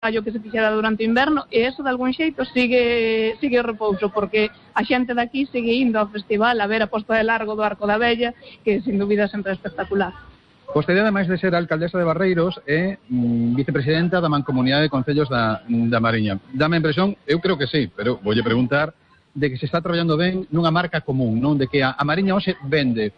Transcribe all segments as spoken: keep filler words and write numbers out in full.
traballo que se fixera durante o inverno, e eso de algún xeito sigue sigue o repouso, porque a xente daqui sigue indo ao festival a ver a posta de largo do Arco da Vella, que sin dúbida sempre é espectacular. Vostede, ademais de ser alcaldesa de Barreiros, é mm, vicepresidenta da Mancomunidade de Concellos da, da Mariña. Dame a impresión, eu creo que sí, pero voulle preguntar de que se está traballando ben nunha marca común, non? De que a, a Mariña hoxe vende.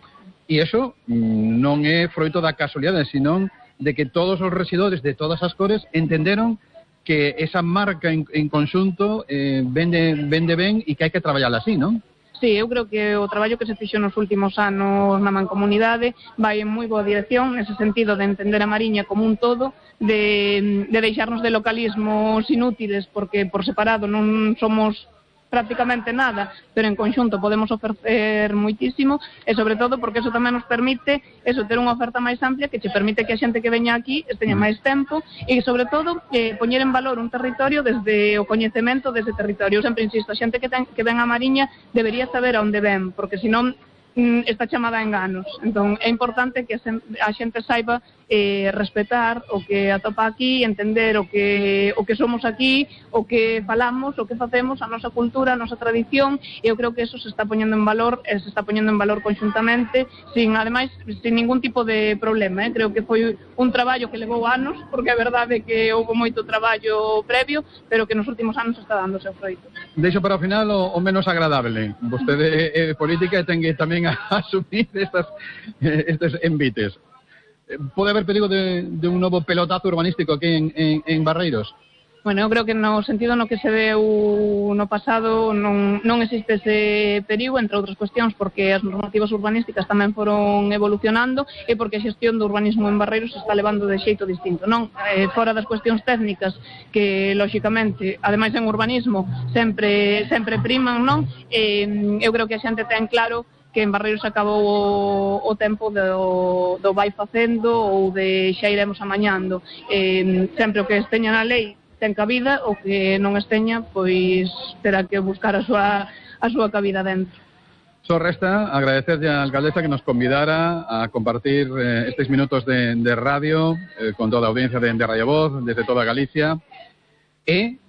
E iso mm, non é froito da casualidade, senón de que todos os rexidores de todas as cores entenderon que esa marca en, en conxunto eh, vende, vende ben e que hai que traballar así, non? Sí, eu creo que o traballo que se fixo nos últimos anos na mancomunidade vai en moi boa dirección, nese sentido de entender a Mariña como un todo, de, de deixarnos de localismos inútiles, porque por separado non somos prácticamente nada, pero en conxunto podemos ofrecer moitísimo, e sobre todo porque eso tamén nos permite eso, ter unha oferta máis amplia que che permite que a xente que veña aquí esteña máis tempo e sobre todo eh, poñer en valor un territorio desde o coñecemento dese territorio. Eu sempre insisto, a xente que, ten, que ven a Mariña debería saber a onde ven, porque senón mm, está chamada a enganos. Entón é importante que a xente saiba eh, respetar o que atopa aquí, entender o que, o que somos aquí, o que falamos, o que facemos, a nosa cultura, a nosa tradición, e eu creo que eso se está poñendo en valor, e se está poñendo en valor conxuntamente, sin, ademais, sin ningún tipo de problema. Eh? Creo que foi un traballo que levou anos, porque a verdade é que houve moito traballo previo, pero que nos últimos anos está dando o seu froito. Deixo para o final o, o menos agradable. Vostede é política e ten que tamén asumir estas, estes envites. Pode haber perigo de, de un novo pelotazo urbanístico aquí en, en, en Barreiros? Bueno, eu creo que no sentido no que se deu no pasado non, non existe ese perigo, entre outras cuestións, porque as normativas urbanísticas tamén foron evolucionando e porque a xestión do urbanismo en Barreiros se está levando de xeito distinto, non? Eh, fora das cuestións técnicas que, lóxicamente, ademais en urbanismo sempre sempre priman, non? Eh, eu creo que a xente ten claro que en Barreiros acabou o, o tempo do, do vai facendo ou de xa iremos amañando. Eh, sempre o que esteña na lei ten cabida, o que non esteña, pois terá que buscar a súa, a súa cabida dentro. Só resta agradecerlle a alcaldesa que nos convidara a compartir eh, estes minutos de, de radio eh, con toda a audiencia de, de Radio Voz, desde toda Galicia, e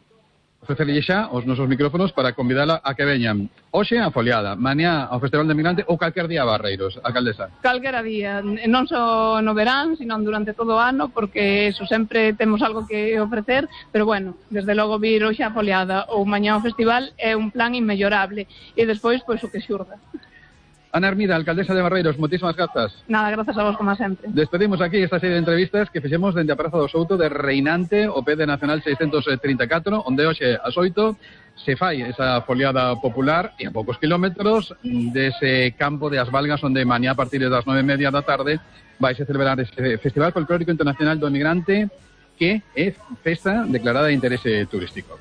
ofrecerlle xa os nosos micrófonos para convidala a que veñan hoxe a Foliada, mañá ao Festival de Migrante ou calquer día a Barreiros, alcaldesa. Calquera día, non só no verán, sino durante todo o ano, porque eso, sempre temos algo que ofrecer, pero bueno, desde logo vir hoxe a Foliada ou mañá ao festival é un plan inmellorable, e despois, pois, o que xurda. Ana Hermida, alcaldesa de Barreiros, moitísimas grazas. Nada, grazas a vos como sempre. Despedimos aquí esta serie de entrevistas que fixemos dende a Praza do Souto de Reinante, o P de Nacional seiscentos trinta e catro, onde hoxe ás oito se fai esa foliada popular e a poucos kilómetros dese campo de As Valgas, onde mañá a partir das nove e media da tarde vai se celebrar ese Festival Folclórico Internacional do Emigrante, que é festa declarada de interese turístico.